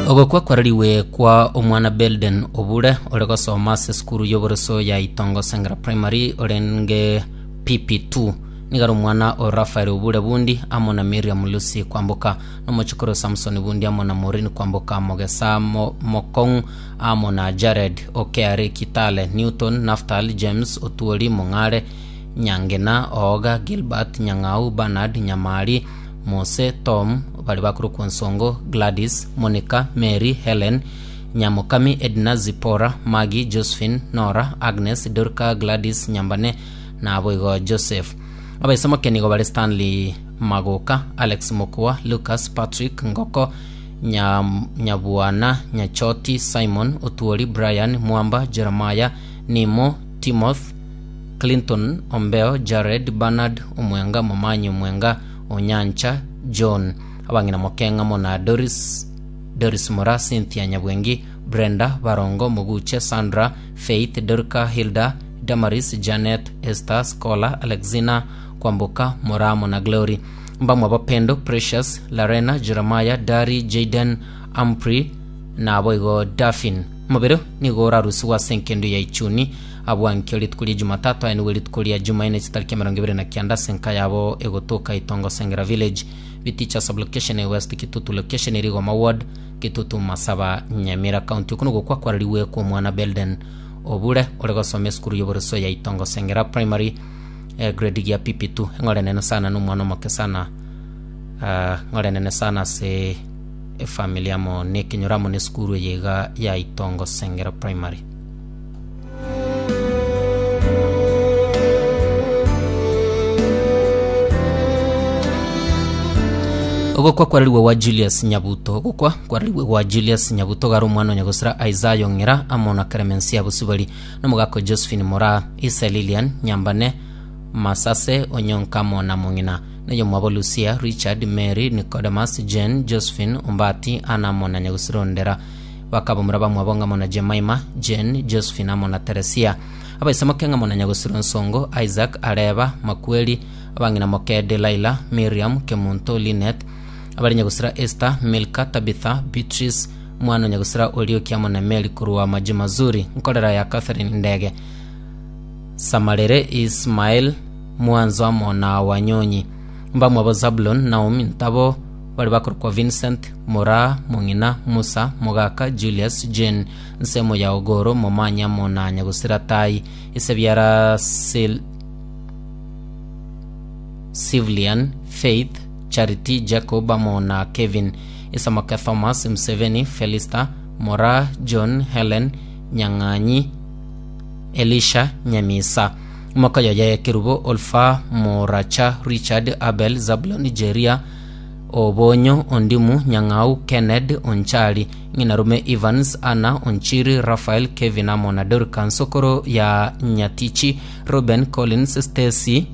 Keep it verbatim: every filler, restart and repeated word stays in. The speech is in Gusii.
Ogokwa kwarariwe kwa omwana Belden Obure ore gosoma ase esukuru y'oboroso ya Itongo Sengera Primary orenge P P two nigaro omwana o Rafael Obure Bundi amo na Miriam Lucy Kwamboka nomochokoro Samson Bundi amo na Maureen Kwamboka Mogesa Mo, Mokong amo na Jared Okeare Kitale Newton Naftal James Otuori Mong'are Nyangena Ooga Gilbert Nyang'au Bernard Nyamari Mose Tom bari bakorokwa Nsongo Gladys Monica Mary Helen Nyamokami Edna Zipora Maggie Josephine Nora Agnes Dorka Gladys Nyambane naboigo Joseph. Abaisomoke nigo bari Stanley Magoka, Alex Mokua, Lucas Patrick Ngoko, Nya, Nyabuana Nyachoti, Simon Otuori, Brian Mwamba, Jeremiah Nimo, Timoth Clinton Ombeo, Jared Bernard Omwenga, Momanyi Omwenga, Onyancha John. Abang'ina Mokenga mona Doris Doris Mora, Cynthia Nyabwengi, Brenda Barongo, Moguche Sandra, Faith Dorka, Hilda Damaris, Janet Esther Scholar, Alexina Kwamboka Moramo na Glory. Mbamwe Bapendo, Precious Larena, Jeremiah Dari, Jaden Ampri naboigo Daffin. Mobere nigo orarusiwa ase enkendo ya ichuni abwankio rituko ria Jumatatu aya nigo rituko ria Jumanne chitariki emerongo ebere na kianda ase enka yabo egotoka Itongo Sengera Village, Biticha sublocation, West Kitutu location, Rigoma ward, Kitutu Masaba, Nyamira County. Okuno gokwa kwarariwe kwa omwana Belden Obure ore gosoma esukuru y'oboroso ya Itongo Sengera Primary, eh, grade ya P P two. Eng'ore nene sana n'omwana omoke sana, uh, ng'ore nene sana ase efamily amo nekenyoro amo nesukuru eye iga ya Itongo Sengera Primary. Ogokwa kwarariwe wa Julius Nyabuto. Ogokwa kwarariwe wa Julius Nyabuto gari omwana onyagosira Isaiah Ong'era amo na Clemencia Busibori nomogako Josephine Mora, Isa Lilian Nyambane, Masase Onyonka amo na Mong'ina nayo mwabo Lucia, Richard, Mary, Nicodemus, Jane, Josephine Ombati, Ana amo na nyagosira Ondera bakabomura bamwabo ng'amo na Jemima, Jane, Josephine amo na Teresia. Abaisamoke ng'amo na nyagosira Nsongo, Isaac Areba Makweli, abang'ina moke Delaila, Miriam Kemunto, Linet, abari nyagusira Esther, Milka, Tabitha, Beatrice, mwana nyagusira Olioki amo na Mary kurwa maji mazuri nkorera ya Catherine Ndege Samarere, Ismail Mwanzo amo na Wanyonyi. Mbamwe abo Zabulon, Naomi Ntabo bari bakorokwa Vincent Mora, Mong'ina Musa, Mogaka Julius, Jane Nsemo ya Ogoro, Momanya amo na nyagusira Tai Isebiara Sil Civilian, Faith, Charity, Jacob amo na Kevin Isamaka, Thomas Mseveni, Felista Mora, John, Helen Nyang'anyi, Elisha Nyamisa, Mokayoye Kerubo, Olfa Moracha, Richard Abel, Zabulon Jeria Obonyo, Ondimu Nyang'au, Kenneth Onchali, Ng'inarume Evans, Anna Onchiri, Rafael, Kevin amo na Dorka Nsokoro ya Nyatichi, Ruben Collins, Stacy.